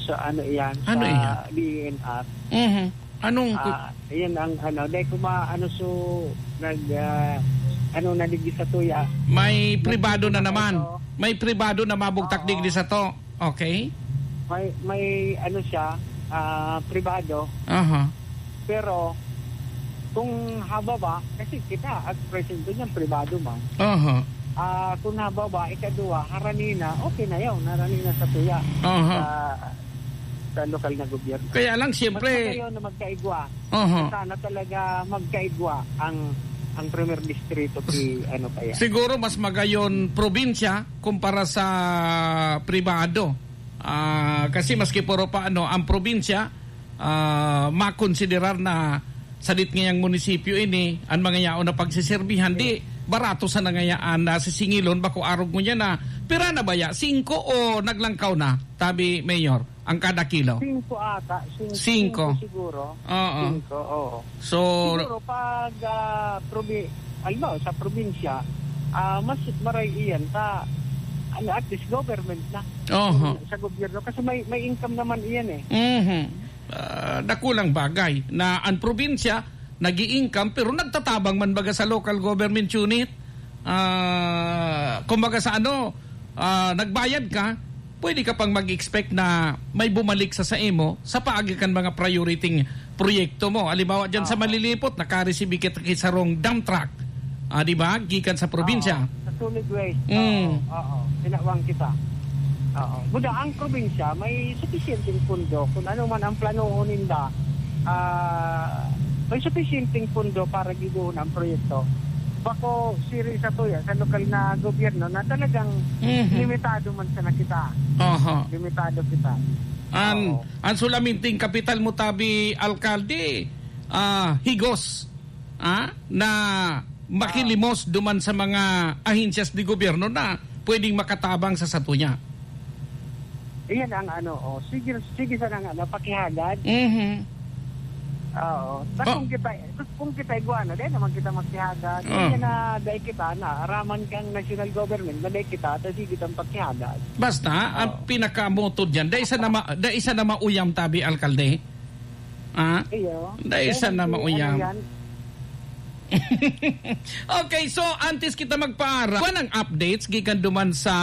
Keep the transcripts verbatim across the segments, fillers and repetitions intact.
So, ano iyan, Ano sa iyan? D E N R. Mhm. Anong ku- Ah, iyan ang ano, dahil kuma-, ano, so, nag, ah, ano, naligis sa tuya. May Nag-, pribado na naman. May pribado na mabugtak Oo. digdi sa to. Okay. May, may, ano siya, ah, pribado. Aha. Pero, kung hababa, kasi kita, at present ko niyan, pribado man. Aha. Ah, kung hababa, ikaduwa, harani na, okay na yun, harani na sa tuya. Aha. Sa, sa lokal na gobyerno. Kaya lang, siyempre, Mas magayon na magkaigwa. Aha. Sana talaga magkaigwa ang, ang Premier Distrito, si, ano, kaya. Siguro mas magayon probinsya kumpara sa pribado. Ah, kasi maski puro pa, ano, ang probinsya, ah, makonsiderar na sadit ngayang munisipyo ini, ang mga yaon na pagsiserbihan, di barato sa nangayaan na sisingilon, bako arog mo niya na, pira na baya? Singko o naglangkaw na, tabi Mayor, ang kada kilo? Singko ata, sing-, Singko. singko siguro. Oo. Singko, oo. So, Siguro pag, ah, probi-, halimbawa, sa probinsya, ah, mas maray iyan sa, ano, at least government na. Oho. Sa gobyerno, kasi may, may income naman iyan eh. Mhm. Ah, dakulang bagay na ang probinsya nag-i-income pero nagtatabang man baga sa local government unit. Ah, kumbaga sa ano, ah, nagbayad ka, pwede ka pang mag-expect na may bumalik sa, sa imo sa paagi kan mga priority proyekto mo. Halimbawa, dyan sa Oo. Malilipot, nakareceive kita ki sarong dump truck. Ah, di ba? Gikan sa probinsya. Oo, sa solid waste. Mm. Oo, oo. Tinawang kita. Oo. Buda, ang probinsya, may sufisyenteng pundo. Kung ano man ang planohon ninda, ah, may sufisyenteng pundo para gibohon ang proyekto. Bako, siri sa tuya, sa lokal na gobyerno na talagang Mhm. limitado man sana kita. Aha. Limitado kita. An, Oo. an sulaminting kapital mo, tabi, alkalde, ah, higos, ah, na makilimos Ah. duman sa mga ahensyas de gobyerno na pwedeng makatabang sa satuya. Iyan ang ano, oh, sige, sige sana nga, no, pakihagad. Mhm. Oo. Ta Ba- kung kita, kung kita igwa na, dahil naman kita magsihagad. Ah. Hindi na dahil kita na, araman kang national government, na dahil kita, ta sige kitang pagsihagad. Basta, ang Oo. pinakamoto dyan, dahil sa nama-, dahil sa namauyam tabi, alkalde. Ah? Iyo. Dahil Dahil sa hindi, namauyam. ano yan, Okay, so antes kita magpaara, kuwan ang updates gikan duman sa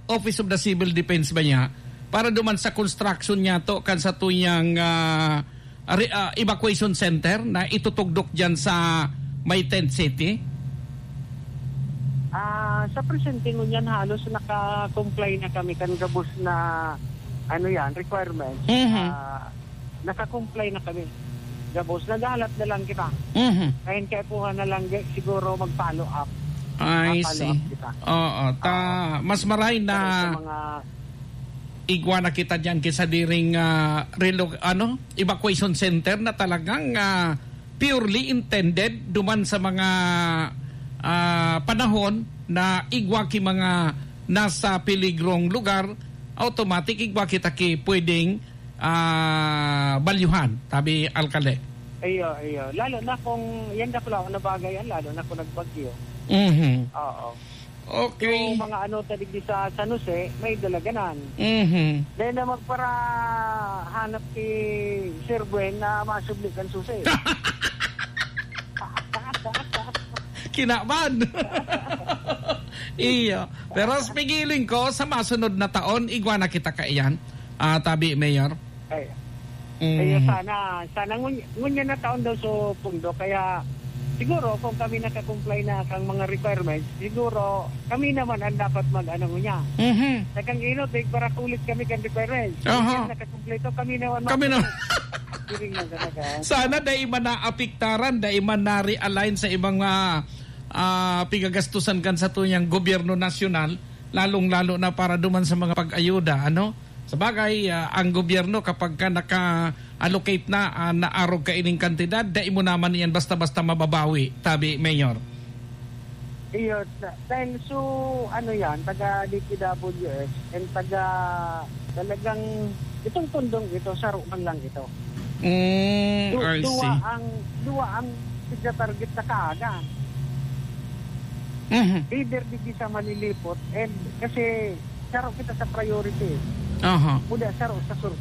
Office of the Civil Defense ba niya? Para duman sa construction niya to kan sa tuyang, ah, re-, ah, evacuation center na itutugdok diyan sa may tent city? Ah, sa presente ngunyan, halos naka-comply na kami kan gabos na, ano yan, requirements. Mhm. Ah, naka-comply na kami. Gabos, naghahalat na lang kita. Mhm. Kaya kaipuhan na lang, di, siguro mag-follow up. I Ah, follow see. up kita. Oo, ta-, Oo. mas maray na Pero sa mga igwa na kita diyan kaysa diring, ah, relo-, ano, evacuation center na talagang, ah, purely intended duman sa mga, ah, panahon na igwa ki mga nasa peligrong lugar, automatic igwa kita ki pwedeng, ah, balyuhan, tabi alkalde. Iyo, iyo. Lalo na kung yan dakula na bagay yan, lalo na kung nagbagyo. Mhm. Oo. Okay. Yung mga ano, ta digdi sa San Jose, may dalaganan. Mhm. Dahil na magparahanap si Sir Gwen na masubli kan susi. Kinaban. Iyo. Pero sa pigiling ko, sa masunod na taon, igwa na kita kaiyan. Ah, tabi, Mayor. Ay. Mm. Kaya sana, sana ngun-, ngunyan na taon daw sa pundo. Kaya siguro kung kami nakakomply na kang mga requirements, siguro kami naman ang dapat mag-ano ngunyan. Mhm. Sa kang inot, eh, para kulit kami kang requirements. Aha. Ngunyan nakakompleto, kami naman Kami mag- na. Feeling lang talaga. Sana dai man naapektaran, dai man na-realign sa ibang, ah, ah, pigagastusan kan sa tuyang gobyerno nasyonal, lalong-lalo na para duman sa mga pag-ayuda, ano? Sabagay, ah, ang gobyerno kapag ka naka-allocate na, ah, naarog ka ining kantidad, dai mo naman iyan basta-basta mababawi, tabi, Mayor. Iyo, da-, dahil so, ano yan, taga D P W S and taga, talagang, itong pundong ito, saro man lang ito. Mm, Du-, I duwa see. ang, duwa ang tigna-target na kaaga. Mhm. Either digdi sa Malilipot, and kasi saro kita sa priority. Aha. Kuda saro sa sur-,